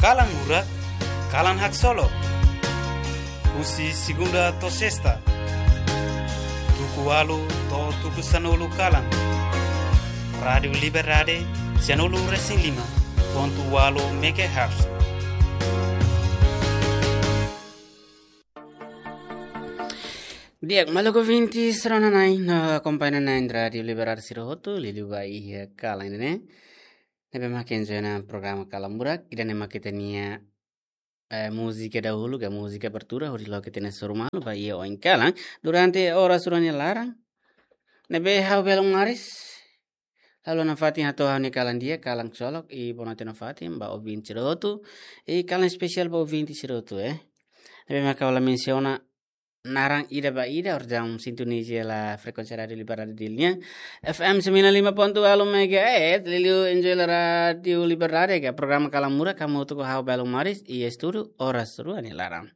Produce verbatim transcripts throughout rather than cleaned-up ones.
Kalan Murak, kalan haksolok. Husi segunda to'o sesta, tuku ualu to'o tuku sanulu kalan. Rádiu Liberdade, sanulu resin lima pontu ualu megahertz. Di'ak, maluk ouvinte sira-nia na'in, no akompaña na'in Rádiu Liberdade sira hotu, liuliu ba iha kalan ne'e. Ne'ebé mak enjoy ona programa Kalan Murak, ida-ne'e mak ita-nia, eh, múzika dahuluk, ka múzika abertura, hodi loke ita-nia sorumalu ba iha oin kalan, durante oras rua nia laran. Ne'ebé ha'u belun maris, halo nafatin hato'o ha'u-nia kalan di'ak, kalan haksolok, i bonoite nafatin ba ouvinte sira hotu, i kalan espesiál ba ouvinte sira hotu, eh. Ne'ebé mak ha'u la mensiona naran ida ba ida, orsida sintoniza hela frekuénsia Rádiu Liberdade Dili nian, F M sembilan lima ponto ualu megahertz, liuliu enjoy hela Rádiu Liberdade, ka programa Kalan Murak, hamutuk ho ha'u belun maris, iha estúdiu, oras rua nia laran.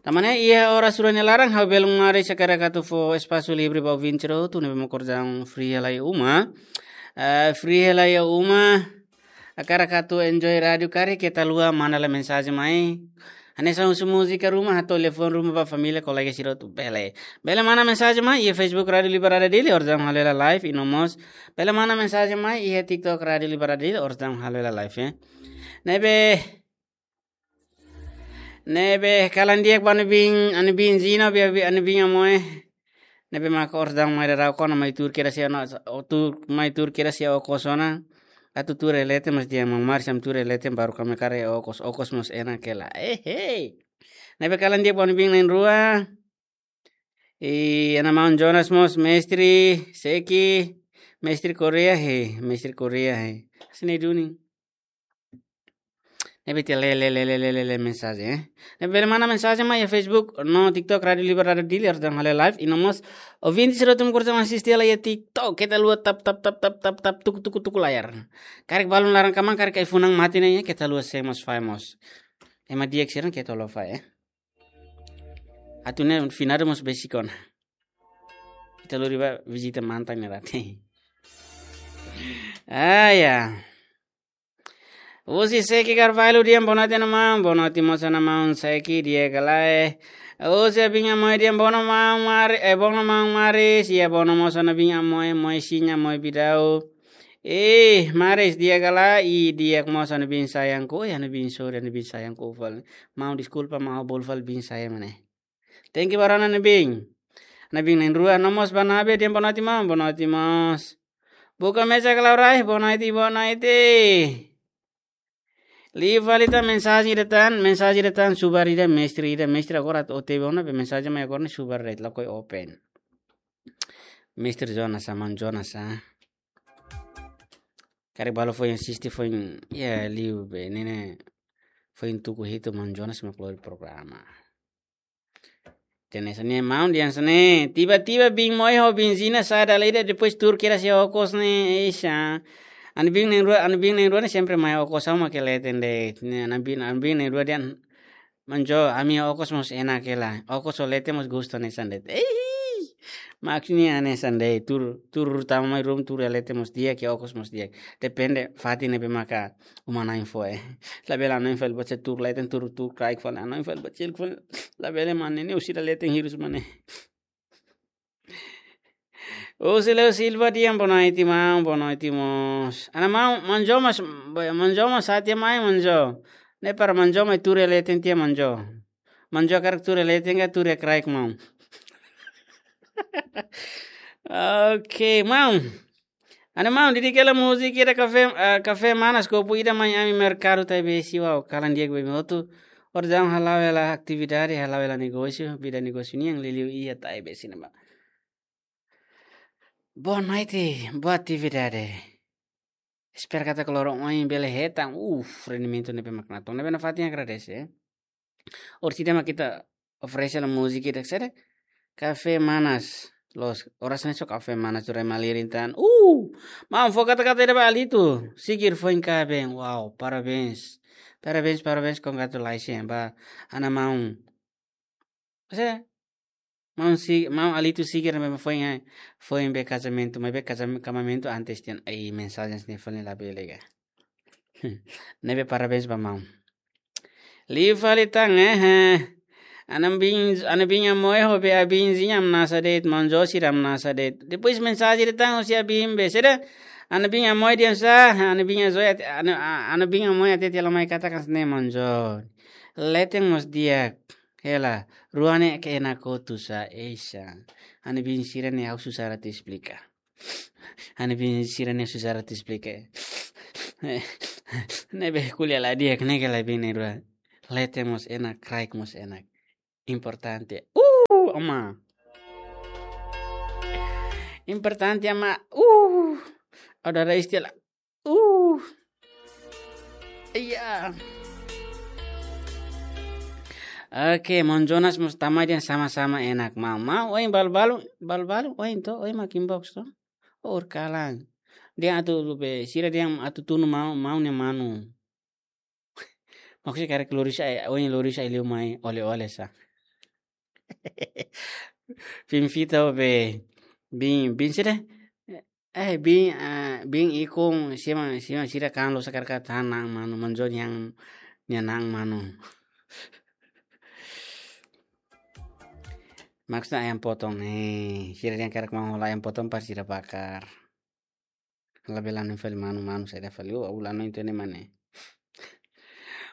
Tanba ne'e, iha oras rua nia laran, ha'u belun maris hakarak atu fó espasu livre ba ouvinte sira hotu, ne'ebé mak orsida free hela iha uma. Eh, free hela iha uma. Hakarak atu enjoy rádiu karik, keta haluha manda lai mensajen mai. Hanesan husu múzika ruma, hato'o telefone ruma ba família, kolega sira hotu bele. Bele manda mensajen mai iha Facebook Rádiu Liberdade Dili, orsida halo hela live, i no mós bele manda mensajen mai iha TikTok Rádiu Liberdade Dili, orsida halo hela live, eh. Ne'ebé, ne'ebé, kalan di'ak ba ami-nia biin, ami-nia biin Zina, bi, bi, ami-nia biin Amoe. Ne'ebé mak orsida mai daudaun ona mai tuur kedas iha ona, o tuur, mai tuur kedas iha okos ona. Atu tuur iha leten mós di'ak, maun maris ami tuur iha leten baru ami haree okos, okos mós enak hela. Eh, hei. Ne'ebé kalan di'ak ba ami-nia biin na'in-rua. I ana maun Jonas mós, mestre, Seki, mestre Korea, he, mestre Korea, he. Sini duni. Ne'ebé ita lee, lee, lee mensajen, eh. Ne'ebé bele manda mensajen mai iha Facebook, no TikTok Rádiu Liberdade Dili, orsida halo live, i no mós ouvinte sira hotu mak orsida asiste hela iha TikTok, keta haluha tap, tap, tap, tap, tap, tap, tuku, tuku, tuku layar. Karik balun laran kmaan, karik ai-funan mate ne'e, keta haluha share mós, fahe mós. Ema di'ak sira keta haluha fahe, eh. Atu nune'e finadu mós besik ona. Ita lori ba vizita mantan ne'e rate. Ah, ya. Husi Seki Carvalho, di'ak, bonoite maun, bonoite mós ana maun Seki, di'ak ka lae. Husi ami-nia biin Amoe, di'ak, bonoite maun mari, eh, bonoite maun maris, iha bonoite mós ana biin Amoe, Moe Siña, Moe Bidau. Eh, maris, di'ak ka lae, i di'ak mós ami-nia biin sayangku, eh, ami-nia biin sorin, ami-nia biin sayangku fali. Maun deskulpa, maun bolu fali biin sayang ne'e. Thank you barak ona ami-nia biin. Ami-nia biin na'in-rua, no mós Barnabe, di'ak, bonoite maun, bonoite mós. Buka mesak Laurai, bonoite, bonoite. Liu fali tan mensajen ida tan, mensajen ida tan, subar ida, mestre ida, mestre agora atu O T W ona, be mensajen mai agora ne'e subar de'it, lakohi open. Mestre Jonas, maun Jonas, ah. Karik balu foin asiste, foin, ya, liu be, ne'e ne'e, foin tuku hitu maun Jonas mak lori programa. Ita hanesan ne'e maun, ita hanesan ne'e. Tiba-tiba biin Moe ho biin Zina sa'e dala ida, depois tuur kedas iha okos ne'e, eixa. Ami-nia biin na'in-rua, ami-nia biin na'in-rua ne'e sempre mai okos, ha'u mak iha leten de'it. Ne'e, ami-nia biin, ami-nia biin na'in-rua dehan, maun Jo, ami okos mós enak hela. Okos ho leten mós gostu hanesan de'it. Ei! Maksudnya hanesan de'it, tuur, tuur tama mai ruma tuur iha leten mós di'ak, iha okos mós di'ak. Depende fatin ne'ebé maka uma-na'in fó, eh. Labele na'in fali baca tuur leten, tuur, tuur kraik fali, na'in fali baca tuur fali. Labele mane ne'e, husi ida leten hirus mane. Husi Leo Silva, di'ak, bonoite maun, bonoite mós. Ana maun, maun Jo mós, maun Jo mós sa'e tiha mai, maun Jo. Ne'e para maun Jo mai tuur iha leten tiha, maun Jo. Maun Jo hakarak tuur iha leten ka tuur iha kraik, maun? Oke, maun. Ana maun, dedika hela múzika ida Kafé, eh, Kafé Manas, kopu ida mai ami merkadu Taibesi, wow, kalan di'ak ba imi hotu. Orsida hala'o hela atividade, hala'o hela negósiu, vida negósiu nian, liuliu iha Taibesi ne'ebá. Boa noite, boa atividade. Espera katak loron oin bele hetan, uf, rendimentu ne'ebé mak natoon. Ne'ebé nafatin agradese, eh. Orsida mak ita oferese hela múzika ida, saida? Kafé Manas. Loos, oras ne'e só Kafé Manas tuur iha malirin tan. Uh! Maun, fó kata-kata ida ba Alito Sigir foin kaben. Wow, parabéns. Parabéns, parabéns, congratulations ba ana maun. Saida? Maun Si-, maun Alito Sigir ne'ebé foin, eh, foin be kazamentu, maibé kazam-, kazamentu antes tiha ona. Ai, mensajen ne'e fali labele ka. Ne'ebé parabéns ba maun. Liu fali tan, eh, eh. Ana bin, ana bin Amoy ho be abin zinya amnasa de'it, maun Jo sira amnasa de'it. Depois mensajen de'it tan husi abin be, sede. Ana bin Amoy dehan sá, ana bin Azoy, ana, ana bin Amoy hatete hela mai katak hanesan ne'e maun Jo. Leten mós di'ak, hela, rua ne'e ke enak hotu sá, ei sá. Ana bin sira-ne'e ha'u susar atu esplika. Ana bin sira-ne'e susar atu esplika. Ne'ebé ko'alia la di'ak, ne'e ke la bin ne'e rua. Leten mós enak, kraik mós enak. Importante. Uh, ama. Importante, ama. Uh. Ada ada istilah. Uh. Iya. Oke, maun Jonas mós tama dehan sama-sama enak, maun. Maun, ohin balu-balu, balu-balu, ohin to, ohin mak inbox to. Or kalan. Dehan atu be, sira dehan atu tunu maun, maun nia manu. Maksudnya karik lori sá, eh, ohin lori sá liu mai oleh-oleh sá. Bin Vita be, bin, bin sira. Eh, bin, eh, bin Ikun, sira, sira, sira kan lo sakar ka tan na'an manu, maun Jo nia, nia na'an manu. Maksudnya ayam potong ne'e, sira dehan karik maun hola ayam potong para sira bakar. Labele hanoin fali manu, manu saida fali, oh, ulano itu ne mane.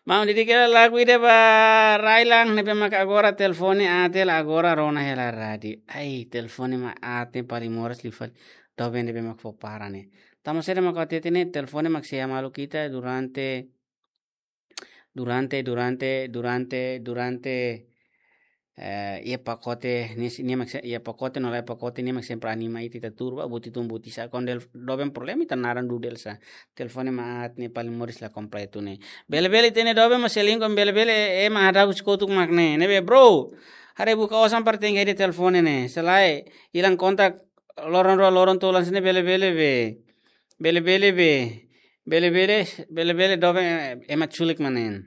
Maun, dedika lagu ida ba rai-laran ne'ebé mak agora telefone aat hela, agora rona hela rádiu. Ai, telefone mak aat ne'e paling moras liu fali. Doben ne'ebé mak fó para ne'e. Tanba saida mak hatete ne'e, telefone mak sei hamalu ita durante, durante, durante, durante, durante, eh, iha pakote, nia, nia mak se-, iha pakote no la iha pakote, nia mak sempre anima ita, ita tuur ba buti tun buti sá, kuandu doben problema ita naran dudu hela sá. Telefone mak aat ne'e paling moras la kompletu ne'e. Bele-bele ita-nia doben mós selingkuh, bele-bele ema hadau husi kotuk mak ne'e. Ne'ebé bro, haree buka osan para tenke hedi telefone ne'e. Se lae, ilang kontak loron rua, loron tolu hanesan ne'e bele-bele be. Bele-bele be. Bele-bele, bele-bele doben ema culik mak ne'e.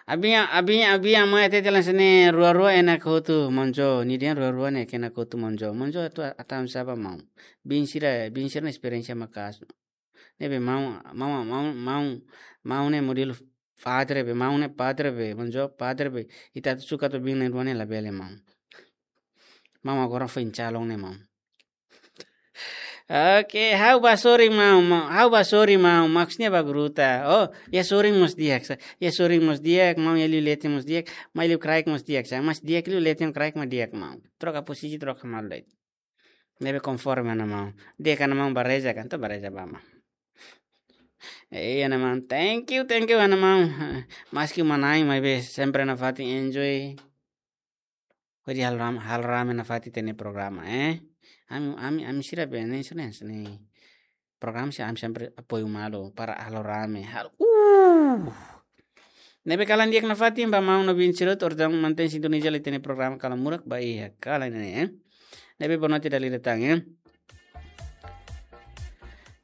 Abin, abin, abin Amoy hatete hanesan ne'e rua-rua enak hotu, maun Jo. Nia dehan rua-rua ne'e ke enak hotu, maun Jo. Maun Jo atu, atu hanoin sá ba maun. Bin sira, bin sira-nia esperiénsia maka'as. Ne'ebé maun, maun, maun, maun, maun ne'e modelu padre be, maun ne'e padre be, maun Jo padre be. Ita atu suka atu bin ne'e rua ne'e labele maun. Maun agora foin calon ne'e maun. Oke, ha'u bá sorin maun, maun, ha'u bá sorin maun, maksudnya bá gruta. Oh, iha sorin mós di'ak sá. Iha sorin mós di'ak, maun, iha liu leten mós di'ak, maun, iha liu kraik mós di'ak sá. Mas di'ak liu leten kraik mak di'ak, maun. Troka posisi, troka malu de'it. Ne'ebé konforme, ana maun. Di'ak, ana maun, bá reza kan, to bá reza ba maun. Iya, ana maun. Thank you, thank you, ana maun. Maski manán, maibé sempre nafatin enjoy. Hodi halo ram-, halo rame nafatin ita-nia programa, eh. Ami, ami, ami sira be ne'e, sira ne'e, sira ne'e. Programa sira ami sempre apoiu malu para halo rame. Halo, uh. Ne'ebé kalan di'ak nafatin ba maun no bin sira hotu, orsida mantein sintoniza ita-nia programa Kalan Murak ba iha kalan ne'e, eh. Ne'ebé boa noite dala ida tan, eh.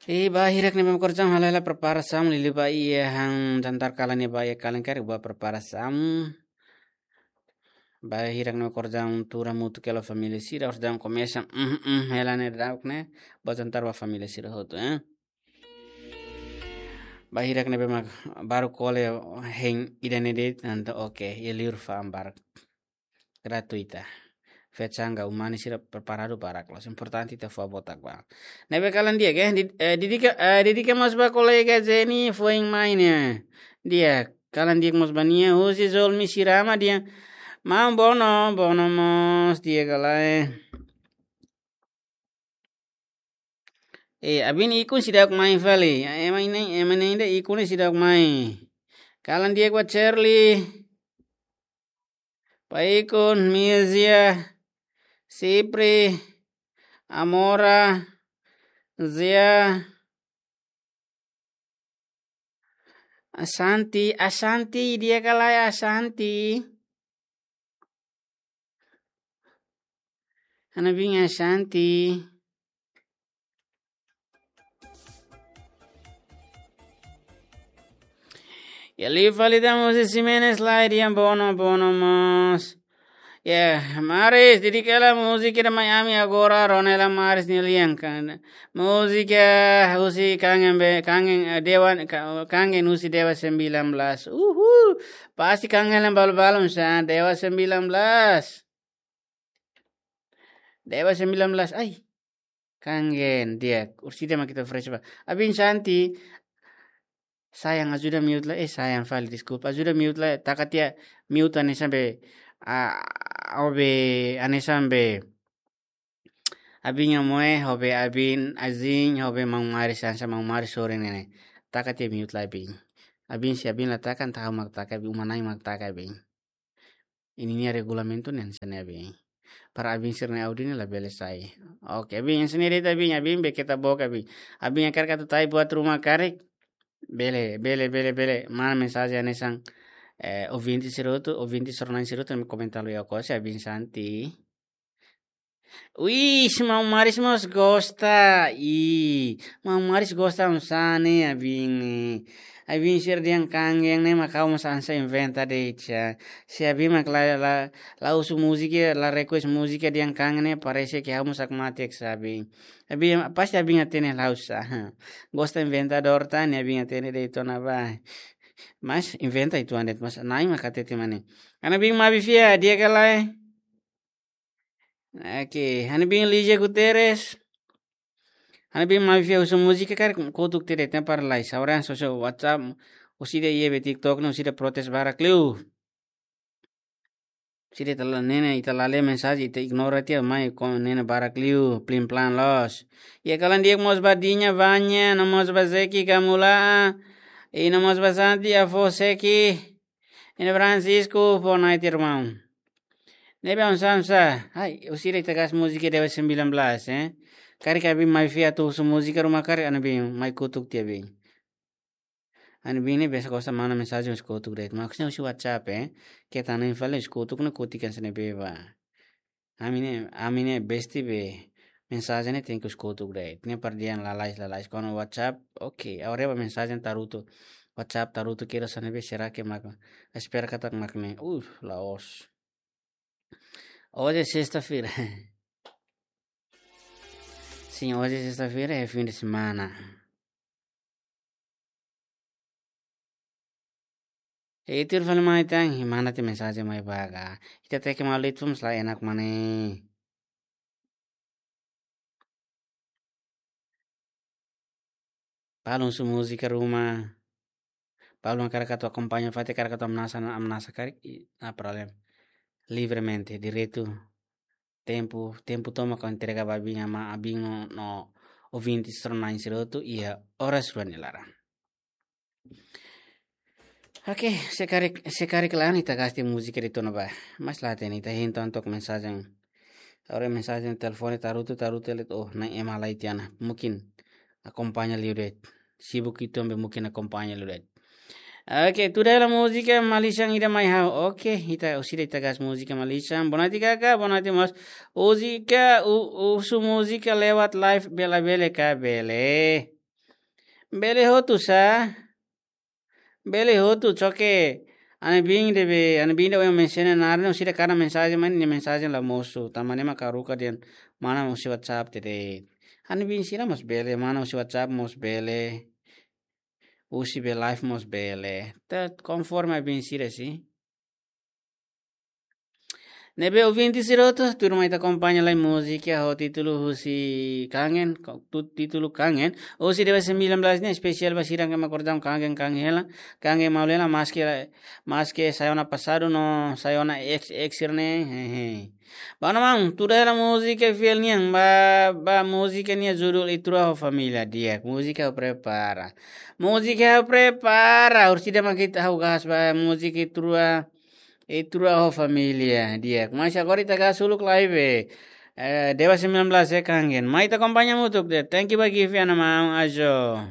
Eh, ba hirak ne'ebé mak orsida halo hela preparasaun liuliu ba iha han jantar kalan ne'e ba iha kalan karik ba preparasaun. Ba hirak ne'ebé mak orsida tuur hamutuk hela família sira, orsida komesa, mm, mm, hela ne'e dauk ne'e, ba jantar ba família sira hotu, eh. Ba hirak ne'ebé mak baru kole hein ida-ne'e de'it, entaun oke, iha liur fa'an barak. Gratuita. Fetsang ka umani sira preparadu barak loos. Importante ita fó botak ba. Ne'ebé kalan di'ak, eh, di-, eh, dedika, eh, dedika mós ba kolega Jenny foin mai ne'e. Di'ak, kalan di'ak mós ba nia, husi Zolmi Sirama dehan. Maun Bono, Bono mós di'ak ka lae. Eh, abin Ikun seidauk mai fali. Ema ne'e, ema ne'e ida Ikun ne'e seidauk mai. Kalan di'ak ba Cherly. Ba Ikun, Mizia, Sipri, Amora, Zia, Asanti, Asanti, di'ak ka lae Asanti. Ana bin Asanti. Iha liu fali tan husi Ximenes lae dehan Bono, Bono mós. Ya, Maris, dedika hela múzika ida mai ami agora, rona hela Maris nia lian kan. Múzika husi kangen be, kangen, eh, Dewa, ka-, kangen husi Dewa sembilan belas. Uhul. Pasti kangen hela balu-balu sa, Dewa sembilan belas. Dewa sembilan belas, ai. Kangen di'ak, orsida mak ita fresh ba. Abin Santi, sayang, ajuda mute lai, eh, sayang fali, deskulpa. Ajuda mute lai, taka tiha mute hanesan be, ah, ho be, hanesan be. Abin nia moe, ho be abin, azin, ho be maun Maris, hanesan maun Maris sorin ne'e. Taka tiha mute lai, abin. Abin, se abin la taka, entaun ha'u mak taka, abin, uma-na'in mak taka, abin. Ida-ne'e regulamentu ne'e hanesan ne'e, abin. Para abin sira-nia áudio ne'e labele sai. Oke, abin, hanesan ne'e de'it, abin, abin, be keta boka, abin. Abin hakarak atu tau buat ruma karik. Bele, bele, bele, bele. Mana mensajen hanesan, eh, ouvinte sira hotu, ouvinte sira-na'in sira hotu, ne'e komentar liu ho se abin Santi. Wih, maun Maris mós gosta. Ih, maun Maris gosta hanesan ne'e, abin. Abin sira dehan kangen ne'e mak ha'u mós hanesan inventa de'it sa. Se abin mak la, la, la husu múzika, la request múzika dehan kangen ne'e, parese ke ha'u mós hakmatek sa, abin. Abin, pasti abin hatene la'ós sa. Gosta inventadór tan ne'e, abin hatene de'it ona ba. Mas inventa uitoan de'it, mas na'in mak hatete mak ne'e. Ana bin mabi fia, di'ak ka lae? Oke, ha'u-nia bin Lígia Guterres. Ha'u-nia bin mabi fia husu múzika karik, kotuk tiha de'it, para lai. Saura soso WhatsApp, orsida iha be TikTok ne'e, orsida protes barak liu. Orsida ita la, ne'e ne'e, ita la lee mensajen, ita ignora tiha, mai ko ne'e ne'e barak liu, plin plan loos. Iha kalan di'ak mós ba Diña Vanya, no mós ba Zeki Kamula, i no mós ba Santi Afo Seki, i no Francisco, boa noite, irmão. Ne'ebé oinsá, oinsá? Ai, orsida ita gás múzika Dewa sembilan belas, eh? Karik ha'u bin mabi fia atu husu múzika ruma karik, ha'u-nia bin mai kotuk tiha bin. Ha'u-nia bin ne'e biasa gosta manda mensajen husi kotuk de'it. Maksudnya husi WhatsApp, eh? Keta na'in fali husi kotuk ne'e kotuk hanesan ne'ebé ba. Ami ne'e, ami ne'e besti be mensajen ne'e tenke husi kotuk de'it. Ne'e para dehan lalais, lalais. Kuandu WhatsApp, oke. Agora ba mensajen tarutu. WhatsApp tarutu kira hanesan ne'ebé, será que mak, espera katak mak ne'e. Uh, la'ós. Hoje é sexta-feira. Sim, hoje é sexta-feira, é fim de semana. E tuir fali mai tan, i manda tiha mensajen mai ba ka. Ita tenke malu de'it, fomos la enak mak ne'e. Balu husu múzika ruma. Balu hakarak atu akompaña, fatin hakarak atu amnasa, amnasa karik, i, no problema. Livremente, direitu. Tempu, tempu tomak ha'u entrega ba abin, ama abin no, no ouvinte sira-na'in sira hotu, iha oras rua nia laran. Oke, se karik, se karik la'o ne'e ita gás tiha múzika de'it ona ba. Mas la hatene, ita hein tan to'o mensajen. Agora mensajen telefone tarutu, tarutu, ele, oh, na'in ema lai tiha ona. Mungkin akompaña liu de'it. Sibuk uitoan be mungkin akompaña liu de'it. Oke, tuda hela múzika Malisan ida mai ha'u. Oke, ita orsida ita gás múzika Malisan. Boa noite, kaka, boa noite, mós. Múzika, u-, husu múzika lewat live, bele, bele ka, bele. Bele hotu sa. Bele hotu, só que ha'u-nia bin de'it be, ha'u-nia bin de'it ohin mensajen naran, orsida kada mensajen mai ne'e mensajen la mosu. Tanba ne'e mak haruka dehan mana husi WhatsApp tiha de'it. Ha'u-nia bin sira mós bele, mana husi WhatsApp mós bele. Husi be live mós bele. Ita konforme bin sira, sin. Ne'ebé ouvinte sira hotu, tuirmai ita akompaña lai múzika ho títulu husi Kangen, ko-, tu-, títulu Kangen. Husi Dewa sembilan belas ne'e espesiál ba sira ne'ebé mak kordam kangen, kangen hela. Kangen malu hela, maske, maske sai ona pasadu no sai ona ex, ex sira-ne'e. Hehe. Ba ona maun, tuda hela múzika fiel nian, ba, ba múzika nia judul Ita Rua ho Família, di'ak. Múzika ha'u prepara. Múzika ha'u prepara. Orsida mak ita ha'u gás ba múzika Ita Rua, Ita Rua ho Família, di'ak. Mas agora ita gás uluk live. Eh, Dewa sembilan belas é Kangen. Mai ita akompaña hamutuk de'it. Thank you ba Givi, ana maun, ajo.